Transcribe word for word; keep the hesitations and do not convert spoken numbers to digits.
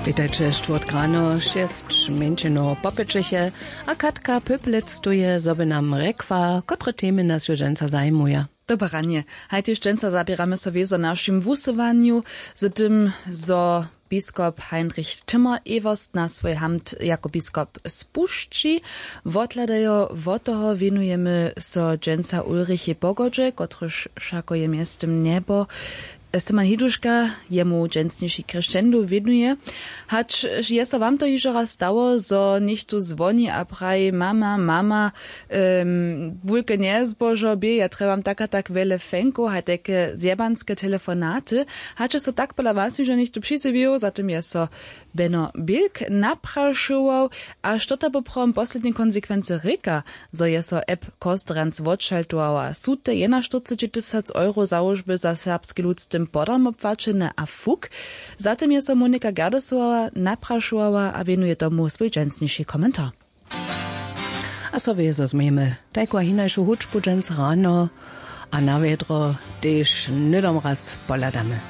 Witajće, štwórtk rano šěsć mjeńšinow popyćeše, a Katka Pyplec tu je, zo by nam rjekła, kotre temy nas jo dźensa zajimuja. Dobre ranje. Haj tež dźensa zaběramy so wězo našim wusyłanju z tym, zo biskop Heinrich Timmer Ewerst na swój hamt jako biskop spušći. Wothladajo wot toho wěnujemy so dźensa Ulrichej Pogodźe, kotryž wšako je mjeztym njebo Steman Hiduška jemu dźensniši crescendo wěnuje. Hač je so wam to hižo raz stało, zo něchtó zwoni a praji: „Mama, mama, em, wulke njezbožo bě, ja trjebam tak a tak wjele fenkow, haj tajke zjebanske telefonaty“. Hač je so tak pola was hižo něchtó přizjewił, za tym je so Beno Bilk naprašował. A što to poprawom poslednje konsekwency rěka, zo je so app Kostranc wotšaltowała? Su te jenaštyrceći tysac euro załožby za serbski lud z tym podarmo płaćene a fuk? Za tym je so Monika Gerdesowa naprašowała a wěnuje tomu swój dźensniši komentar. A so wězo změjemy tajku a hinašu hudźbu dźens rano, a na wjedro tež hnydom raz pohladamy.